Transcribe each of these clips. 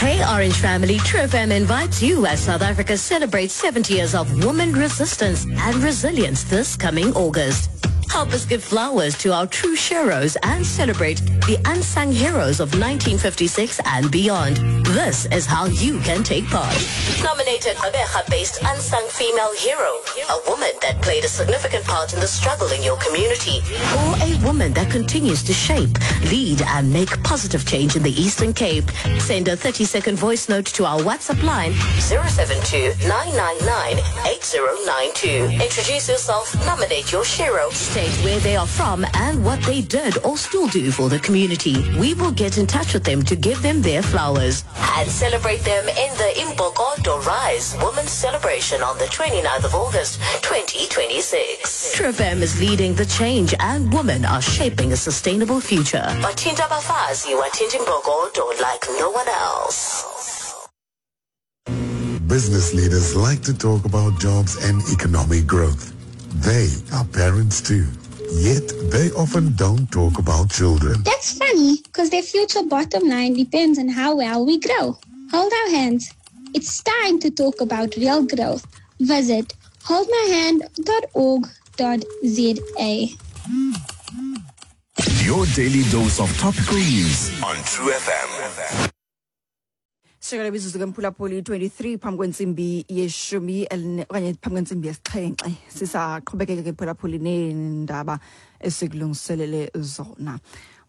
Hey Orange family, True FM invites you as South Africa celebrates 70 years of woman resistance and resilience this coming August. Help us give flowers to our true heroes and celebrate the unsung heroes of 1956 and beyond. This is how you can take part. Nominate a Gqeberha-based unsung female hero, a woman that played a significant part in the struggle in your community, or a woman that continues to shape, lead and make positive change in the Eastern Cape. Send a 30-second voice note to our WhatsApp line 072-999-8092. Introduce yourself, nominate your hero, state where they are from and what they did or still do for the community. We will get in touch with them to give them their flowers and celebrate them in the Imbokodo Rise Women's Celebration on the 29th of August, 2026. True FM is leading the change and women are shaping a sustainable future. Bathinta abafazi, wathinta imbokodo like no one else. Business leaders like to talk about jobs and economic growth. They are parents too. Yet they often don't talk about children. That's funny, because their future bottom line depends on how well we grow. Hold our hands. It's time to talk about real growth. Visit holdmyhand.org.za. Your daily dose of topical news on True FM. Shekela imizuzu ke mphulaphuli 23 phambi kwentsimbi yeshumi okanye phambi kwentsimbi yesixhenxe sisaqhubekeke ke mphulaphuli neendaba esikulungiselele zona.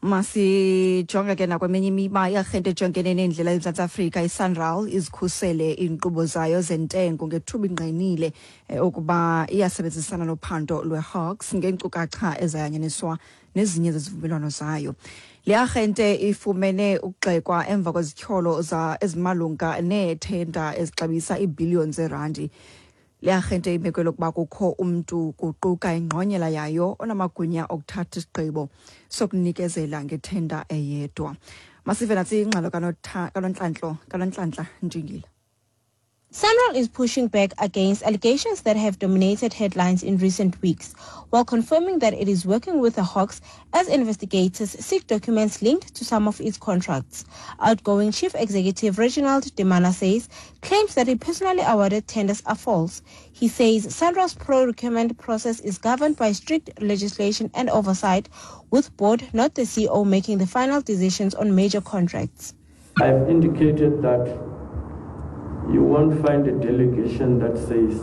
Masijonge ke nakweminye imiba. Iarhente ejongene neendlela eMzantsi Afrika iSANRAL izikhusele iinkqubo zayo zentengo ngethuba ingqinile ukuba iyasebenzisana nophando lweHawks ngeenkcukacha ezayanyaniswa nezinye zezivumelwano zayo. Le arhente ifumene ukugxekwa emva kwezityholo ezimalunga neethenda ezixabisa iibhiliyoni zeerandi. Le arhente imekwe lokuba kukho umntu kuquka ingqonyela yayo onamagunya okuthatha isigqibo sokunikezela ngethenda eyedwa. Masive natsi ingxelo kaNonhlanhla Ntshingila. SANRAL is pushing back against allegations that have dominated headlines in recent weeks, while confirming that it is working with the Hawks as investigators seek documents linked to some of its contracts. Outgoing Chief Executive Reginald Demana says claims that he personally awarded tenders are false. He says SANRAL's procurement process is governed by strict legislation and oversight, with board, not the CEO, making the final decisions on major contracts. I've indicated that you won't find a delegation that says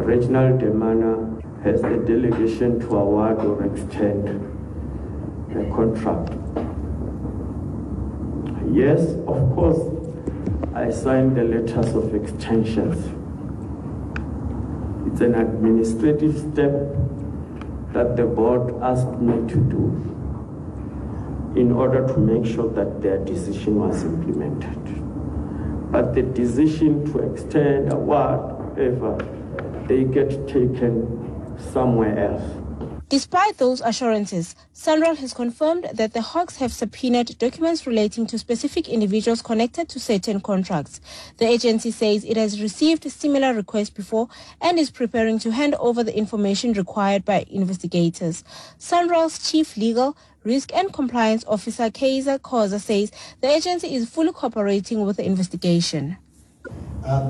Reginald Demana has the delegation to award or extend a contract. Yes, of course, I signed the letters of extensions. It's an administrative step that the board asked me to do in order to make sure that their decision was implemented. But the decision to extend, award, whatever, they get taken somewhere else. Despite those assurances, SANRAL has confirmed that the Hawks have subpoenaed documents relating to specific individuals connected to certain contracts. The agency says it has received similar requests before and is preparing to hand over the information required by investigators. SANRAL's chief legal, risk and compliance officer Kaiser Khoza says the agency is fully cooperating with the investigation.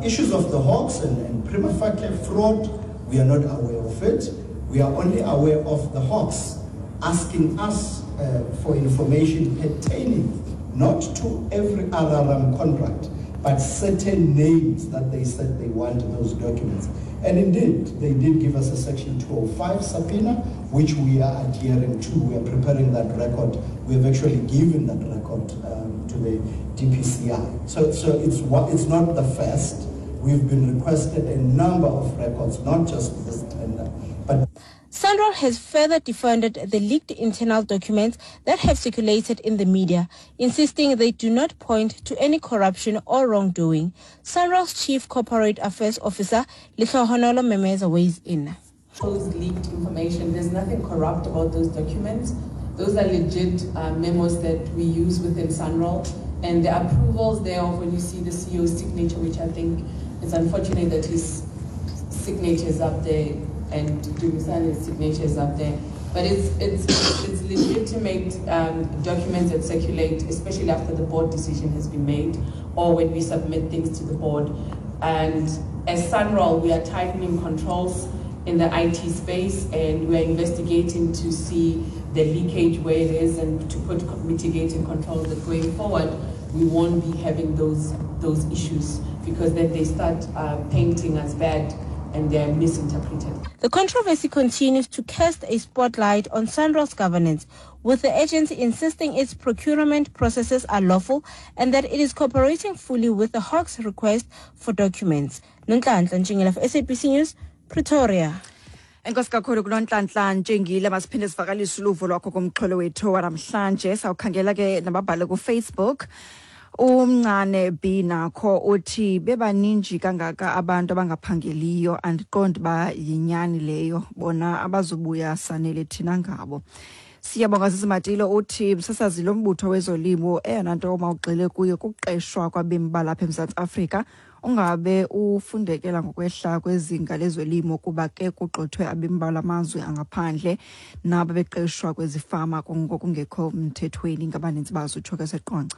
Issues of the Hawks and prima facie fraud, we are not aware of it. We are only aware of the Hawks asking us for information pertaining not to every RRM contract, but certain names that they said they want those documents. And indeed, they did give us a Section 205 subpoena, which we are adhering to. We are preparing that record. We have actually given that record to the DPCI. So it's not the first. We've been requested a number of records, not just this tender. But SANRAL has further defended the leaked internal documents that have circulated in the media, insisting they do not point to any corruption or wrongdoing. SANRAL's Chief Corporate Affairs Officer, Lehlohonolo Memeza, weighs in. Those leaked information, there's nothing corrupt about those documents. Those are legit memos that we use within SANRAL, and the approvals thereof, when you see the CEO's signature, which I think is unfortunate that his signature is up there and Dumisani's signature is up there. But it's, it's, it's legitimate documents that circulate, especially after the board decision has been made or when we submit things to the board. And as SANRAL, we are tightening controls in the IT space and we are investigating to see the leakage where it is and to put mitigating controls that going forward we won't be having those those issues because then they start painting us bad and they're misinterpreted. The controversy continues to cast a spotlight on SANRAL's governance, with the agency insisting its procurement processes are lawful and that it is cooperating fully with the Hawks' request for documents. Nonhlanhla Ntshingila for SABC News, Pretoria. Enkosi kakhulu kuNonhlanhla Ntshingile. Masiphinde sivakalise uluvo lwakho kumxholo wethu wanamhlanje. Sawukhangela ke nababhale kuFacebook. Umncane B nakho uthi bebaninji kangaka abantu abangaphangeliyo, andiqondi uba yinyani leyo, bona abazubuya sanele thina ngabo. Siyabonga Sisimatilo uthi msasazi lo mbutho wezolimo eyona nto mawugxile kuyo kuqeshwa kwabemi balapha eMzantsi Afrika, ungabe ufundekela ngokwehla kwezinga lezolimo kuba ke kugxothwe abemi balamazwe angaphandle nabo beqeshwa kwezifama ngokungekho mthethweni ngabaninzi bazo, utsho ke seqonce.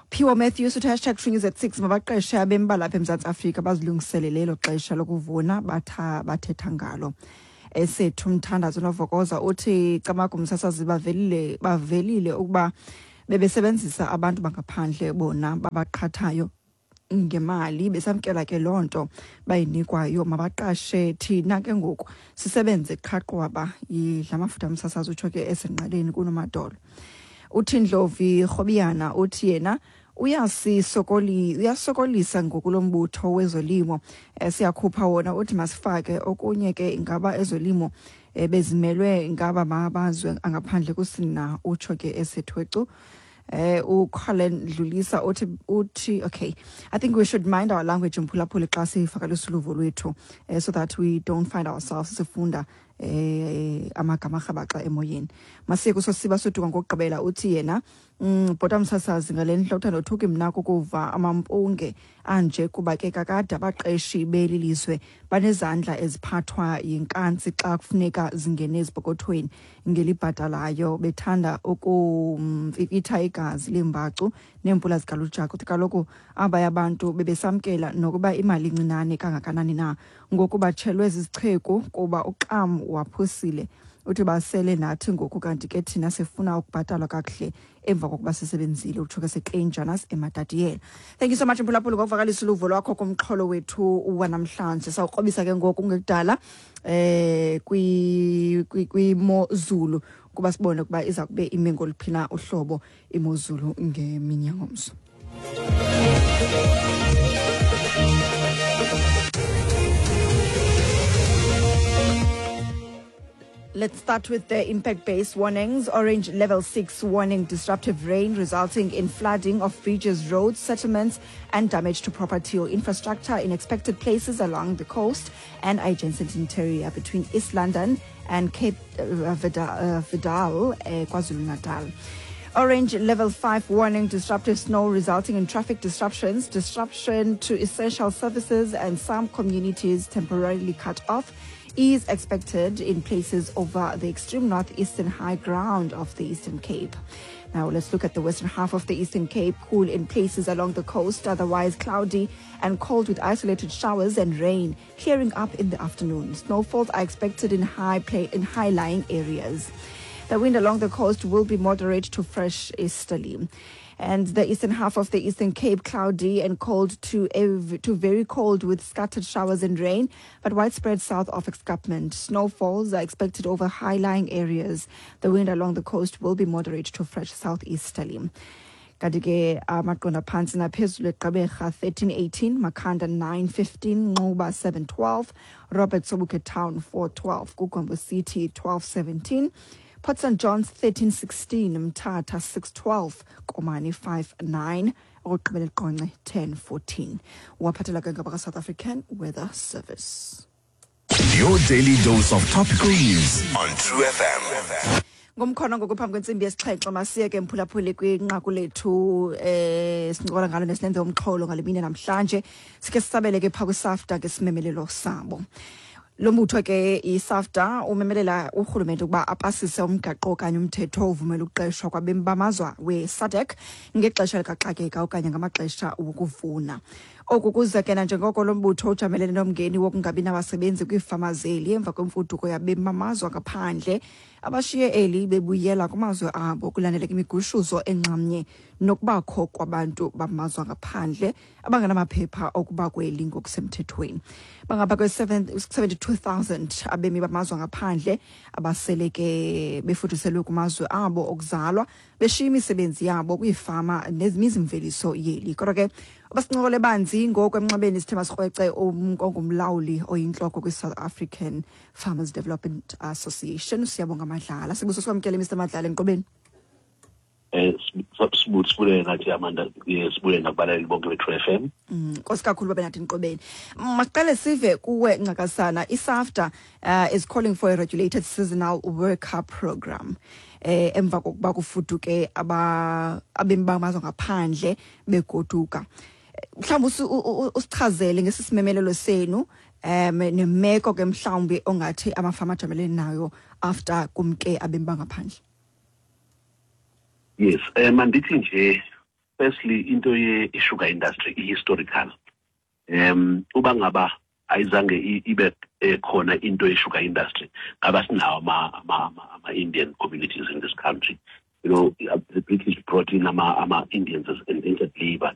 Phiwo Matthews uthi hashtag True News at 6, mabaqeshe abemi balapha eMzantsi Afrika bazilungiselele elo xesha lokuvuna bathetha ngalo. Esethu Mthandazo Novokoza uthi camagu msasazi, bavelile ukuba bebesebenzisa abantu bangaphandle bona babaqhathayo ngemali, besamkela ke loo nto bayinikwayo, mabaqashe thina ke ngoku sisebenze qhaqwaba yidla amafutha msasazi, utsho ke esenqaleni kunomadolo. Uthi Ndlovi Rhobiyana uthi yena uyasokolisa ngoku lo mbutho wezolimo, siyakhupha wona, uthi masifake okunye ke, ingaba ezolimo bezimelwe ngaba mabazwe angaphandle kusina, utsho ke esethwecu. uColin Dlulisa uthi okay, I think we should mind our language mphulaphuli xa sivakalisa uluvo lwethu, so that we don't find ourselves sifunda amagama arhabaxa emoyeni. Masiye kusosiba soduka ngokugqibela, uthi yena bhota msasazi, ngale ndlela uthanda othuki mna kukuva amampunge anje, kuba ke kakade abaqeshi beli lizwe banezandla eziphathwa yinkantsi xa kufuneka zingene ezipokothweni ngelibhatalayo, bethanda ukumfifitha igazi leembacu neempula zikalujaka. Uthi kaloku abaya abantu bebesamkela nokuba imali incinane kangakanani na, ngoku batshelwe zizicheku kuba uxam waphusile. Uthi basele nathi ngoku, kanti ke thina sifuna ukubhatalwa kakuhle emva kokuba sisebenzile, utsho ke seKleinjanas eMatatiele. Thank you so much mphulaphuli ngokuvakalisa uluvo lwakho kumxholo wethu wanamhlanje. Sawukrobisa ke ngoku kungekudala kwi kwimozulu kuba sibone ukuba iza kube ime ngoluphi na uhlobo imozulu ngemini yangomso. Let's start with the impact-based warnings. Orange level 6 warning, disruptive rain resulting in flooding of bridges, roads, settlements and damage to property or infrastructure in expected places along the coast and adjacent interior between East London and Cape Vidal, KwaZulu-Natal. Orange level 5 warning, disruptive snow resulting in traffic disruptions, disruption to essential services and some communities temporarily cut off is expected in places over the extreme northeastern high ground of the Eastern Cape. Now let's look at the western half of the Eastern Cape. Cool in places along the coast, otherwise cloudy and cold with isolated showers and rain, clearing up in the afternoon. Snowfalls are expected in high-lying areas. The wind along the coast will be moderate to fresh easterly. And the eastern half of the Eastern Cape, cloudy and cold to very cold with scattered showers and rain, but widespread south of escarpment. Snowfalls are expected over high-lying areas. The wind along the coast will be moderate to fresh southeasterly. Kanti ke amaqondo aphantsi naphezulu: eGqeberha 1318, Makhanda 915, Nxuba 712, Robert Sobukwe Town 412, KuGompo City 1217, Port St Johns 1316, Mthatha 612, Komani 59, okugqibela eQonce 1014. Waphathela ke ngabaka-South African Weather Service. Your daily dose of topical news on True FM. Ngomkhono ngoku phambi kwentsimbi yesixhenxe, masiye ke mphulaphuli kwinqaku lethu sincokola ngalo nesilenze umxholo ngale mini namhlanje. Sikhe sisabele ke phaa kwiSAFTA ngesimemelelo sabo. Lo mbutho ke iSAFDA umemelela urhulumente ukuba apasise umgaqo okanye umthetho ovumela ukuqeshwa kwabemi bamazwe we-SADC ngexesha likaxakeka okanye ngamaxesha wokuvuna. Oku kuza ke nanjengoko lo mbutho ujamelene nomngeni wokungabi nabasebenzi kwiifama zeli emva kwemfuduko yabemi bamazwe angaphandle abashiye eli bebuyela kumazwe abo kulandeleka imigushuzo enxamnye nokubakho kwabantu bamazwe angaphandle abangenamaphepha okuba kweli ngokusemthethweni. Bangapha kwe-72,000 abemi bamazwe angaphandle abasele ke befuduselwe kumazwe abo okuzalwa beshiya imisebenzi yabo kwiifama nezimizimveliso yeli. Kodwa ke abasincokole banzi ngoku emnxebeni sithe sikrwece ongumlawuli oyintloko kwi-South African Farmers Development Association, Siyabonga Madlala. Sibuso sikwamkele, Mr Madlala, enkqubeni. Sibulele nathi, Amanda, sibulele nakubalaleli bonke be-True FM. Nkosi kakhulu babe nathi enkqubeni. Masiqale sive kuwe, ncakasana. ISAFDA is calling for a regulated seasonal worker program emva kokuba kufuduke aba abemi bamazwe ngaphandle begoduka. Mhlawumbi usichazele ngesi simemelelo senu nemeko ke mhlawumbi ongathi amafama ajamelene nayo after kumke abemi bangaphandle. Yes, mandithi nje firstly into ye-sugar industry i-historical. Uba ngaba ayizange ibe khona into ye-sugar industry, ngaba sinawo ama-Indian communities in this country. The British brought in ama-Indians as indentured labor.